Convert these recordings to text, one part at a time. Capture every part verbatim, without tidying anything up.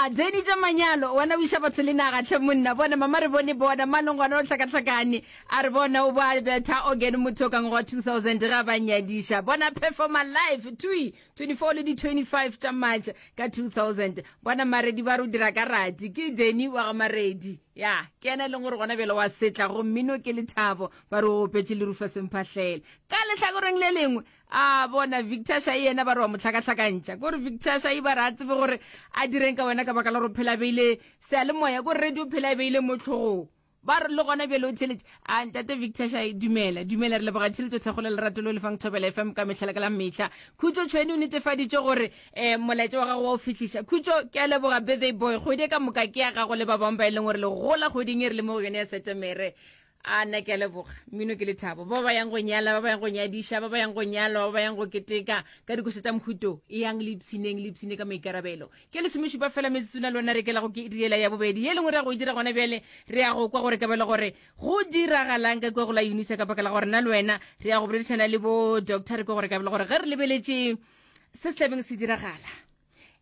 A Danny tša manyalo wena o iša batho le naga tlhe monna bona mama re bone bona malong gona o hlakahlakane a re bona o ba betha organ motho ka ngwaga two thousand ga ba nyadiša bona performer live tui twenty-four le di twenty-five tša March ka two thousand bona Maredi ba re o dira ka rati ke Danny wa ga Maredi ya ke yena e leng gore gona bjale wa setla go mmino ke lethabo ba re o opetše le Rufus Mphahlele ka lehlakoreng le lengwe a bona Victor Shai yena ba re wa mo hlakahlakantšha kore Victor Shai ba re a tsebe gore a direng ka wena ka baka la gore phela beile seyalemoya kore radio phela e beile mo tlhogong ba re le gona bjale o theletše a ntate Victor Shai dumela dumela re leboga theletšo thekgo le lerato le o lefang Thobela F M ka mehla le ka la mehla Khutšo Tšhweni o netefaditše gore um molaetša wa gago wa o fihliša Khutšo ke a leboga birthday boy kgwedi e ka moka ke ya gago le ba bangwe ba e leng gore le gola kgweding e re le mo go yone ya Setemere a nna ke a leboga mmino ke lethabo ba ba yang go nyala ba ba yang go nyadiša ba ba yang go nyalwa ba ba yang go keteka ka dikoša tša mohuto e yang le ipshineng le ipshine ka maikarabelo ke lesomešupa fela metsotsona le wena re kela go ke iriela ya bobedi ye lengwe re ya go e dira gona bjale re ya go kwa gore ka bele gore go diragalang ka kua go la UNISA ka baka la gore nna le wena re ya go boledišana le bo doctor re kwa gore ka bele gore ge re lebeletše se se tlabeng se diragala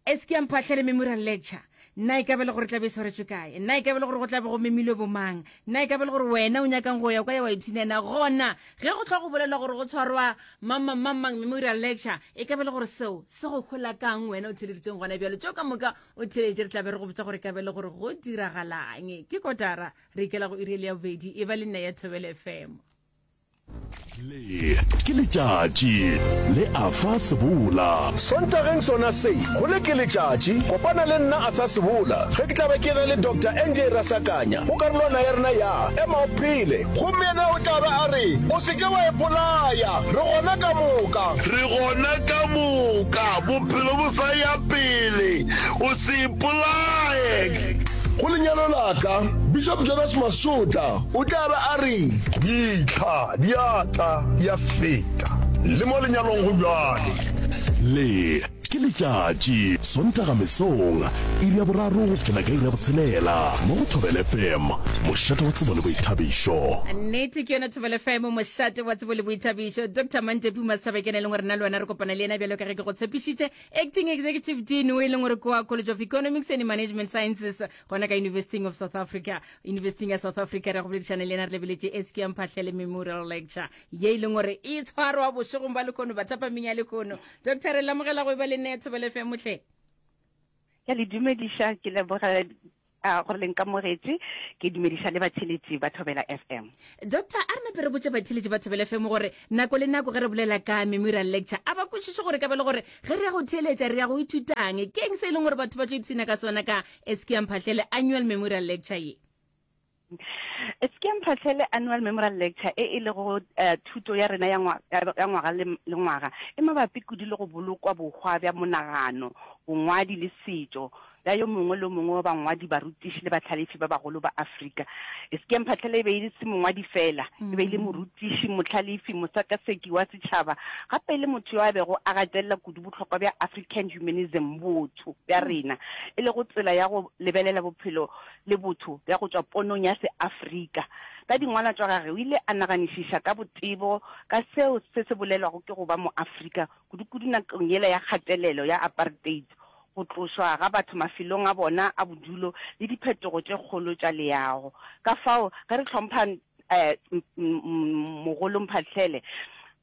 S K Mphahlele Memorial Lecture nna e ka be le gore tlabe e swaretšwe kae nna e ka be le gore go tlabe go memilwe bomang nna e ka be le gore wena o nyakang go ya kwa ya wa ipshinena gona ge go tlhwa go bolelwa gore go tshwarwa mamang mamang memorial lecture e ka be le gore seo se go hola kang wena o theleditseng gona bjalo tšeo ka moka o theletše re tlabe re go botša gore e ka be le gore go diragalang ke kotara re ikela go iri ya bobedi e ba le nna ya Thobela F M. Le ke letšatši le Arthur Sebola. Sontageng sona se, go le ke letšatši, kopana le nna Arthur Sebola ge ke tla be ke na le Doctor N J Rasakanya go karolwana ya rena ya Ema o Phele. Gomme yena o tla be a re, O se ke wa ipolaya, re gona ka moka. Re gona ka moka, bophelo bo sa ya pele, o se ipolaye. Go lenyalo la ka, Bishop Jonas Masotla o tla be a re. Ditlha di a tla ya feta, le mo lenyalong go bjale. Le ke letšatši Sontaga mesong iri ya boraro go fihlela ka iri ya botshelela mo go Thobela F M mošate wa tsebo le boithabišo. Nnete ke yona Thobela F M mošate wa tsebo le boithabišo. Doctor Mantepu Masaba ke ena e leng gore nna le wena re kopana le yena bjalo ka ge ke go tshepišitše acting executive dean o e leng gore kwa College of Economics and Management Sciences gona ka University of South Africa University ya South Africa re go boledišana le yena re lebeletše S K Mphahlele Memorial Lecture ye e leng gore e tshwarwa bošegong ba lekhono bathapameng ya lekhono. Doctor re lamogela go e ba le nne ya Thobela F M mohle. Ke le dumediša ke leboga a gore le nkamogetše ke dumediša le batheletši ba Thobela F M. Doctor a re nape re botše batheletši ba Thobela F M gore nako le nako ge re bolela ka memorial lecture a ba kwešiše gore ka be le gore ge re ya go theeletša re ya go ithutang ke eng se e leng gore batho ba tlo ipshina ka sona ka S K Mphahlele Annual Memorial Lecture ye. S K Mphahlele Annual Memorial Lecture e e lego uh, thuto ya rena ya ngwaga le ngwaga e mabapi kudu le go bolokwa bohwa bja monagano bongwadi le setšo bja yo mongwe le mongwe wa bangwadi barutiši le bahlalefi ba bagolo ba Afrika. S K Mphahlele e be e se mongwadi fela e be e le morutiši mohlalefi mosekaseki wa setšhaba gape e le motho yo a bego a gatelela kudu bohlokwa bja African humanism botho bja rena e lego tsela ya go lebelela bophelo le botho bja go tšwa ponong ya seAfrika. Ka dingwalwa tša gagwe o ile a naganišiša ka botebo ka seo se se bolelwago ke go ba moAfrika kudukudu nakong yela ya kgatelelo ya apartheid go tlošwa ga batho mafelong a bona a bodulo le diphetogo tše kgolo tša leago. Ka fao ge re hlompha um mogolo Mphahlele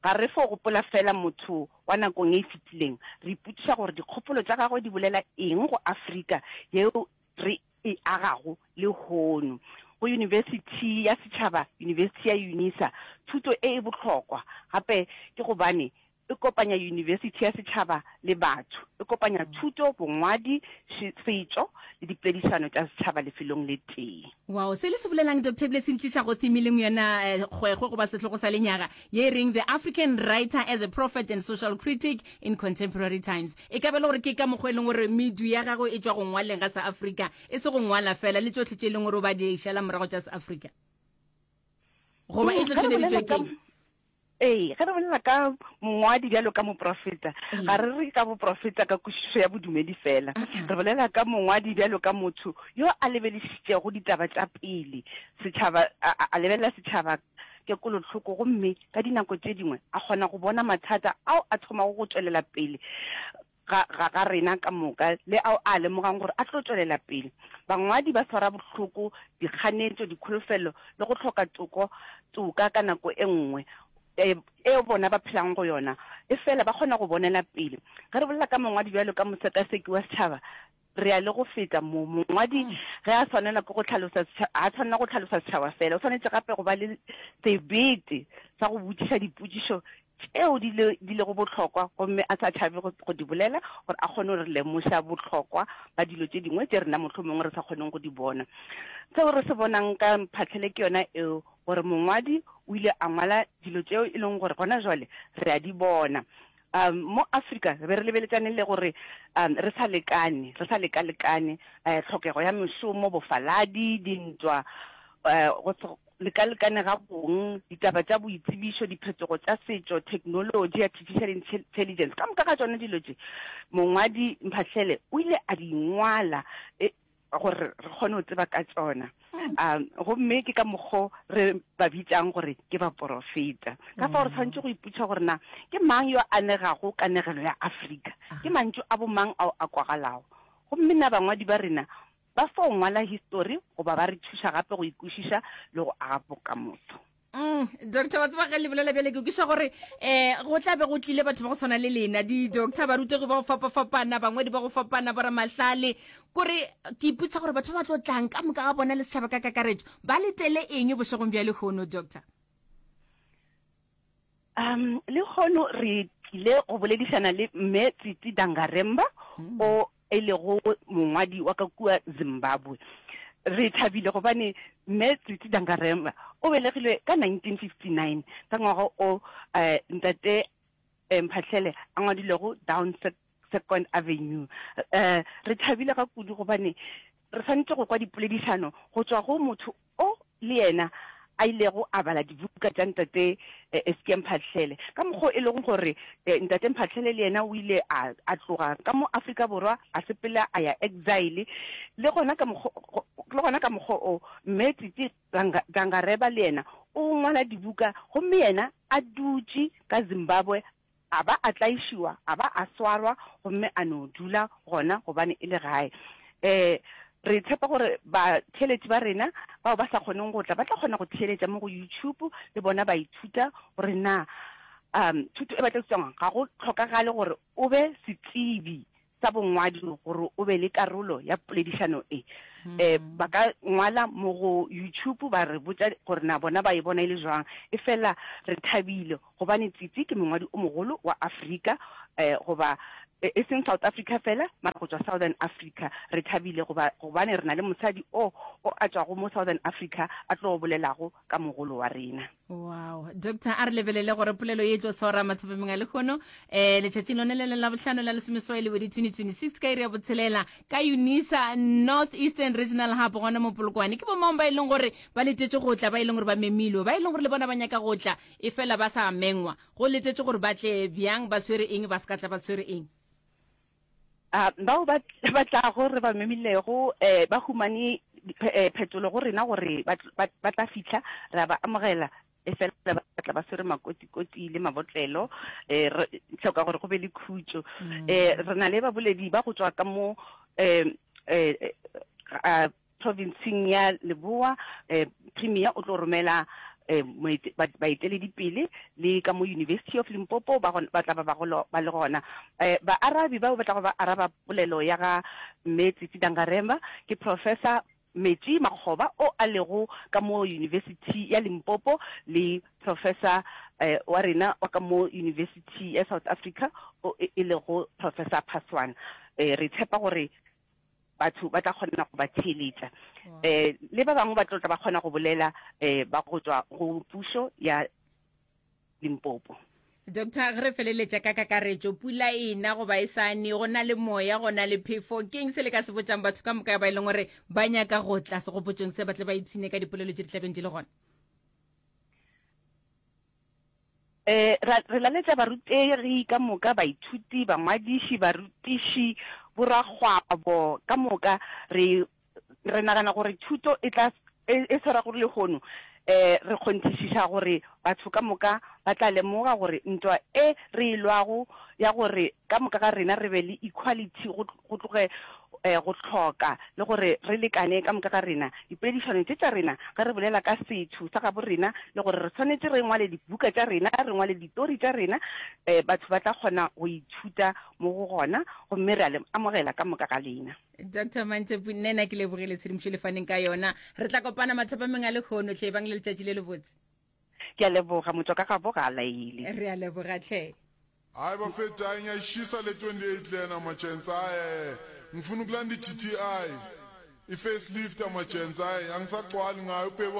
ga re fo gopola fela motho wa nakong e fetileng re ipotšiša gore dikgopolo tša gagwe di bolela eng go Afrika yeo re e agago lehono. Go yunibesithi ya setšhaba University ya UNISA thuto e e bohlokwa gape ke gobane e kopanya yunibesithi ya setšhaba le batho e kopanya thuto bongwadi setšo le dipoledišano tša setšhaba lefelong le tee. Wow se le se bolelang Doctor ebile se ntliša go theme leng yona kgwekgwe goba sehlogo sa lenyaga ye reng the African writer as a prophet and social critic in contemporary times e ka be le gore ke ka mokgwa e leng gore medu ya gagwe e tšwa go ngwaleng ga sa Afrika e se go ngwala fela le tšohle tše e leng gore o ba di šala morago tša sa Afrika goba e hlohleleditšwe keng. Ee ge re bolela ka mongwadi bjalo ka moprofeta ga re re ka boprofeta ka kwešišo ya bodumedi fela re bolela ka mongwadi bjalo ka motho yo a lebelešitšego ditaba tša pele setšhaba a lebelela setšhaba ke kolohloko gomme ka dinako tše dingwe a kgona go bona mathata ao a thomago go tšwelela pele ga, ga, ga rena ka moka le ao a lemogang gore a tlo tšwelela pele. Bangwadi ba swara bohloko, dikganetšo, dikholofelo le go hloka toko, toka ka nako e nngwe e, eo bona ba phelang go yona, efela ba kgona go bonela pele. Ge re bolela ka mongwadi bjalo ka mosekaseki wa setšhaba, re ya le go feta mo. Mongwadi ge a swanela ke go hlalosa setšhaba, ga a swanela go hlalosa setšhaba fela, o swanetše gape go ba le sebete sa go botšiša dipotšišo tšeo di le, di lego bohlokwa gomme a sa tšhabe go, go di bolela gore a kgone go re lemoša bohlokwa ba dilo tše dingwe tše rena mohlomongwe re sa kgoneng go di bona. Seo re se bonang ka Mphahlele ke yona eo, gore mongwadi o ile a ngwala dilo tšeo e leng gore gona jwale re a di bona. Um, mo Afrika re be re lebeletšane le gore um, re sa lekane, re sa lekalekane, eh, tlhokego ya mešomo, bofaladi, dintwa, eh, go se lekalekane ga bong, ditaba tša boitsebišo, diphetogo tša setšo, theknolotši, artificial intelligence, ka moka ga tšona dilo tše mongwadi Mphahlele o ile a di ngwala e, gore re kgone go tseba ka tšona. Um, gomme ke ka mokgo re ba bitšang gore ke baporofeta. Ka fao re tshwanetše go ipotšiša gore na ke mang yo a anegago kanegelo ya Afrika, ke mantšu a bomang ao a kwagalago, gomme na bangwadi ba rena ba fo ngwala histori goba ba re thuša gape go ikwešiša le go aga bokamoso. Mm, doctor, wa tseba ge le bolela bjale ke kwešiša gore um go tla be go tlile batho ba go swana le lena, di-doctor, barutegi ba go fapafapana, bangwadi ba go fapana, boramahlale. Kore ke ipotša gore batho ba ba tlo tlang ka moka ga bona le setšhaba ka kakaretšo ba letele eng bošegong bja lehono, doctor? Um, lehono re tlile go boledišana le Mme Tsitsi Dangaremba, mm. o e lego mongwadi wa ka kua Zimbabwe. Re thabile gobane Mme Tsitsi Dangaremba o belegilwe ka nineteen fifty-nine, ka ngwaga o eh, ntate eh, Mphahlele a ngwadilego Down Second Avenue. Eh, re thabile ga kudu gobane re swanetše go kwa dipoledišano go tšwa go motho o le yena a ilego a bala dibuka tša ntate Eskia Mphahlele, ka mokgwa o e lego gore ntate Mphahlele le yena o ile a, a tloga ka mo Afrika Borwa a sepela a ya exile, le gona ka mokgwa, le gona ka mokgwa o Mme Tsitsi Dangareba le yena o ngwala dibuka gomme yena a dutše ka Zimbabwe a ba a tlaišiwa, a ba a swarwa gomme a no dula gona gobane e le gae. Um re tshepa gore batheeletši ba rena bao ba sa kgoneng go tla ba tla kgona go theeletša mo go YouTube le bona ba ithuta gore na um thuto e ba tla ithutang ga go hlokagale gore o be setsebi sa bongwadi gore o be le karolo ya poledišano e. Um ba ka ngwala mo go YouTube ba re botša gore na bona ba e bona e le jwang. Efela re thabile gobane Tsitsi ke mongwadi o mogolo wa Afrika, um goba e seng South Africa fela, mara go tšwa Southern Africa. Re thabile goba gobane re na le mosadi o o a tšwago mo Southern Africa a tlo bolelago ka mogolo wa rena. Wow, Doctor, a re lebelele gore polelo ye e tlo swara mathapameng a lehono eh letšatšing lone le la bohlano la lesomeswai lebedi twenty twenty-six ka iri ya botshelela ka UNISA North Eastern Regional Hub gona mo Polokwane. Ke bomang ba e leng gore ba letetše go tla, ba e leng gore ba memilwe, ba e leng gore le bona ba nyaka go tla e fela ba sa mengwa, go letetše gore ba tle bjang, ba tshwere eng, ba se ka tla ba tshwere eng? A bao ba ba tlago re ba memilego eh ba humane phetolo go rena gore ba ba tla fihla, re a ba amogela, efela ba tla ba swere makotikoti le mabotlelo, eh re hloka gore go be le khutšo. Eh re na le baboledi ba go tšwa ka mo eh eh provinceng ya Leboa, eh Premier o tlo romela eh baeteledipele le ka mo University of Limpopo ba ba tla ba ba le gona. Eh baarabi bao ba tlago ba araba polelo ya ga Mme Tsitsi Dangaremba ke Professor Metsi Makgoba o a lego ka mo University ya Limpopo le Professor eh wa rena wa ka mo University ya South Africa o e lego Professor Phaswana. Eh re tshepa gore batho ba tla kgona go ba theeletša, um le ba bangwe ba tlo tla ba kgona go bolela um ba go tšwa go pušo ya Limpopo. Doctor, ge re feleletša ka kakaretšo, pula e na goba e sa ne, go na le moya, go na le phefo, ke'ng se le ka se botšang batho ka moka ba e leng gore ba nyaka go tla segopotšong se, ba tle ba ipshine ka dipolelo tše di tlabeng di le gona? Eh, ra, re laletša barutegi ka moka, baithuti, bangwadiši, barutiši, borakgwabo ka moka. Re, re nagana gore thuto e tla, e, e swarwago lehono Um re kgonthišiša gore batho ka moka ba tla lemoga gore ntwa e re e lwago ya gore ka moka ga rena re be le equality go go tloge go hloka le gore re lekane ka moka ga rena. Dipoledišano tše tša rena ge re bolela ka setho sa gabo rena le gore re swanetše re ngwale dibuka tša rena, re ngwale ditori tša rena, batho ba tla kgona go ithuta mo go gona gomme re a le amogela ka moka ga lena. Doctor Mantsepu, nna ke lebogile tshedimošo le faneng ka yona. Re tla kopana mathapameng a lekgono hle, ebang le letšatši le lebotse. Ke a leboga, motšwa ka gabo ga a laele. Re a leboga hle. Hayi bafethu hayi ngiyayishisa le twenty eight lena magents hayi eh ngifuna ukulanda i G T I i facelift amagents hayi angisagcwali ngayo ubheki